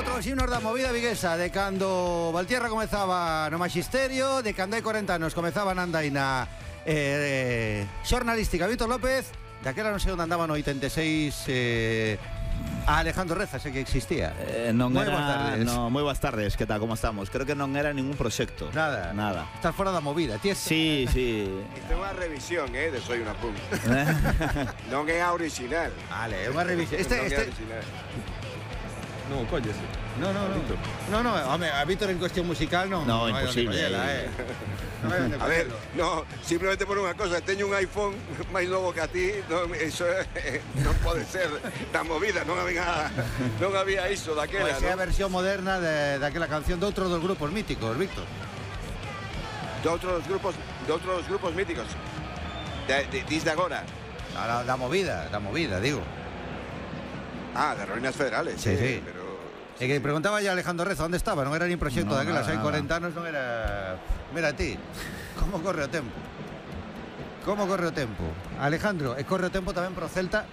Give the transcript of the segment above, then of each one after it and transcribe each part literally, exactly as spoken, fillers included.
Outros himnos da movida viguesa, de cando Valtierra comezaba no Maxisterio, de cando hai corenta anos comezaba na andaina eh, xornalística Víctor López, daquela non sei onde andaba no oitenta e seis eh, a Alejandro Reza, sei que existía. Eh, non moi era, boas tardes. no, moi boas tardes, que tal, como estamos? Creo que non era ningún proxecto. Nada. Nada. Estás fora da movida, ti. Sí, sí. Isto é unha revisión, eh, de Soy una Punk. Non é a original. Vale, é unha revisión. Este, non este... é original. No, coñes. No, no, no. No, no, home, a Víctor en cuestión musical non. No, hai onde imposible. collela, eh. Non hai onde A ver, collelo. no, simplemente por unha cosa, teño un iPhone máis novo que a ti, non, eso eh, non pode ser da movida, non había non había iso daquela, Pois é a non? versión moderna de, daquela canción de outro dos grupos míticos, Víctor. De outros grupos, de outros grupos míticos. De, de, dis de agora. Da, da movida, da movida, digo. Ah, de Ruinas Federales. Sí, eh, sí. Pero E que preguntaba ya Alejandro Reza onde estaba, non era nin proxecto No, daquelas, nada, hai nada. corenta anos non era... Mira ti, como corre o tempo. Como corre o tempo. Alejandro, e corre o tempo tamén pro Celta,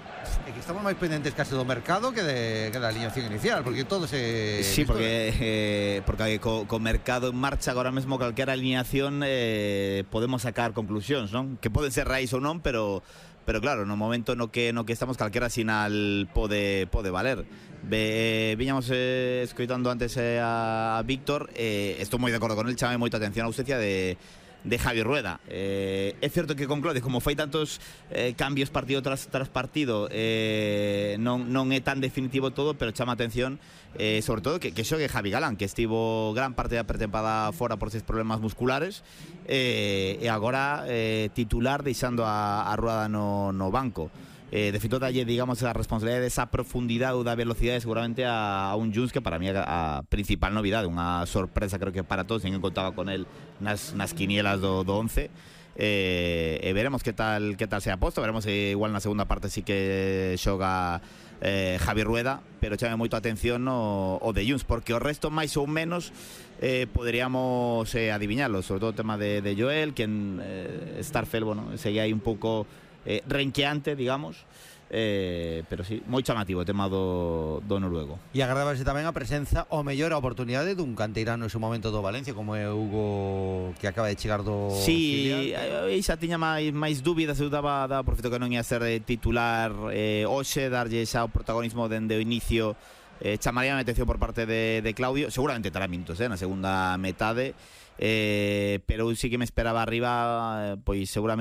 e que estamos máis pendentes case do mercado que, de, que da alineación inicial, porque todo se... Sí, porque eh, porque co, co mercado en marcha agora mesmo calquera alineación eh, podemos sacar conclusións, non? Que poden ser raíz ou non, pero pero claro, no momento no que no que estamos calquera sinal pode pode valer. Ve, viñamos eh, escoitando antes eh, a Víctor, eh, estou moi de acordo con el, chame moita atención a ausencia de de Javi Rueda. Eh, é certo que con Clodes, como fai tantos eh, cambios partido tras, tras partido, eh, non, non é tan definitivo todo, pero chama atención eh, sobre todo que, que xogue Javi Galán, que estivo gran parte da pretempada fora por seis problemas musculares, eh, e agora eh, titular deixando a, a Rueda no, no banco. Eh, de feito dalle, digamos, a responsabilidade desa profundidade ou da velocidade seguramente a, a un Junts que para mí é a, a principal novidade, unha sorpresa creo que para todos, ninguén contaba con el nas, nas quinielas do, do once. Eh, e veremos que tal que tal se aposta, veremos se igual na segunda parte sí que xoga eh, Javi Rueda, pero chame moito a atención o, o de Junts, porque o resto máis ou menos eh, poderíamos eh, adiviñarlo, sobre todo o tema de, de Joel, que en eh, Starfel, bueno, segue aí un pouco Eh, renqueante, digamos, eh, pero sí, moi chamativo o tema do, do noruego. E agradábase tamén a presenza o mellor a oportunidade dun canteirano en su momento do Valencia, como é Hugo, que acaba de chegar do Sí, filial. aí xa tiña máis, máis dúbidas, eu daba, daba por feito que non ia ser eh, titular eh, hoxe, darlle xa o protagonismo dende o inicio. Eh, chamaría a atención por parte de, de Claudio, seguramente terá minutos eh, na segunda metade, eh, pero eu sí que me esperaba arriba, eh, pois seguramente